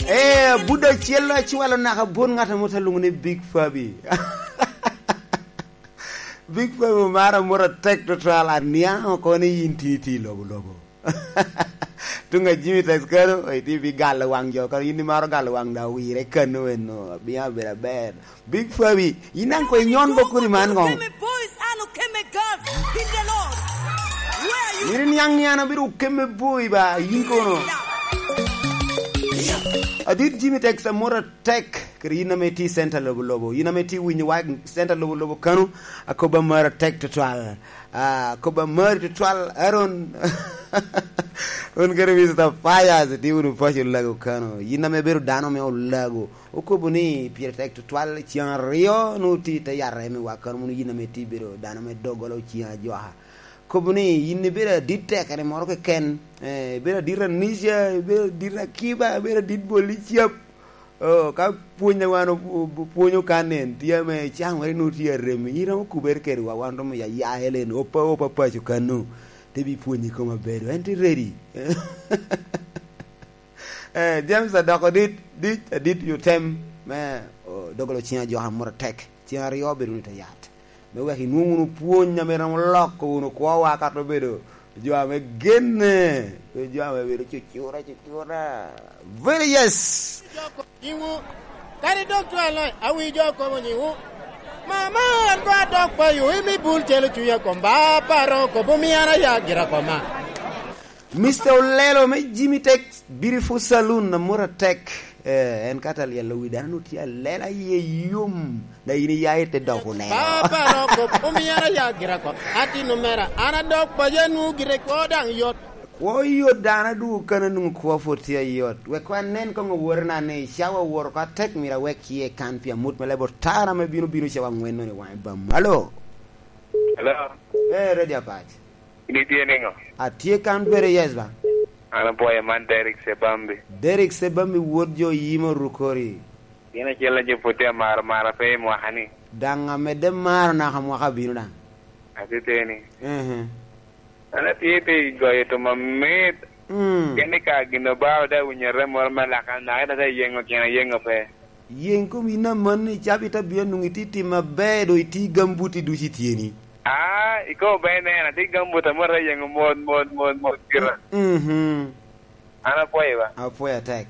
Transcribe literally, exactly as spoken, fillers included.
Eh, budo acel acwalo naka bot ngat amo te lwoŋo ni Big Fabi. Big Fabi omaro amot atek tutwal, aniaŋ oko ni yin tye itye i lobo lobo. Tuŋ a Jimmy Tex kano, itye bi galo waŋ jo kano, yin imaro galo waŋ da owire kano eno, abino abedo aber. Big Fabi, yin daŋ koŋ inyon bok kodi man ŋo? Okeme boys and Okeme girls in the Lord. Where are you? Yin iniaŋ ni an abedo Okeme boy ba, yin kono. Adit Jimmy Tex amot atek, kede yin ame itye i center lobo lobo, yin ame itye winyo wa center lobo lobo kano, akobo amot atek tutwal. Ah, akobo amot tutwal, Aaron. Un kede Mister Fires, itye wunu paco Olago kano. Yin ame ibedo dano me Olago. Okobo ni pire tek tutwal, ceŋ aryo nwoŋo tye i te yat reme wa kano, mono yin ame itye ibedo dano me doggola oceŋ ajoka. Kobo ni yin ibedo adit tekere moro keken, eh, ibedo adit Anisha, ibedo adit Akiba, ibedo adit Boli Cap. Oh, ka pwony a wan o-, o-, pwonyo kan en, tye ame caŋ wari nwoŋo tye arem, yin romo kubere kede wa, wan romo ya, ya Helen, opa, opa paco kano, te bi pwonyi koma bedo, en tye ready. Eh, James adoko dit, dit, adit yo tem me, oh, dogolo ciŋ ajoka moro atek. Ciŋ aryo bedo wunu i te yat. Me wek inwoŋ wunu pwony ame romo loko wunu kwowa kato bedo jo ame genne, pe jo ame bedo cucura, cucura. Very yes. Nyiŋwu, kadi dok cwale, awi jo kobo nyiŋwu. Mama, an ko adok payo, imi bul celo cunya kom ba paro, kobo mi an aya gira koma. Mister Olelo me Jimmy Tex Beautiful Saloon, amor atek. Eh, en ka te lyelo wi dano, nwoŋo tye alela, iye yom. Da yin iya i te dok Olelo. Papa Roko, omio an aya gira ko. Atino mera, an adok paco, anwoŋo gire kwo daŋ yot. Kwo yot, dano adwogo kano, nwoŋo kwo pwod tye ayot. Wek wan nen koŋ owotena ni, cawa owoto oko atek, myero awek ciye kan pi amut me leb otara ame bino bino cawa aŋwen-no i waŋe bam. Alo? Hello? Eh, Radio Apac. In itye niŋo? Atye kan bere, yes ba. An apwoyo, man Derek Sebambi. Derek Sebambi, wot jo yim orukori. In acel a jo pwod tye amaro mara pe i mwaka ni. Daŋ amedde maro naka mwaka bino daŋ. Atiteni. Ehe. An atye pi goyo thum amit. Mm. Keni ka gin obao da winyo rem moro me laka, naka ita te yeŋo tyen ayeŋo pe. Yeŋ kom yin amanni, cabit abino nwoŋo itye tim aber, dok itye gambuti ducu i tyeni. Ah, ikobo ber neno, atye gambuti amot ayeŋo mot, mot, mot, mot, gira. Mhm. An apwoyo ba. Apwoyo atek.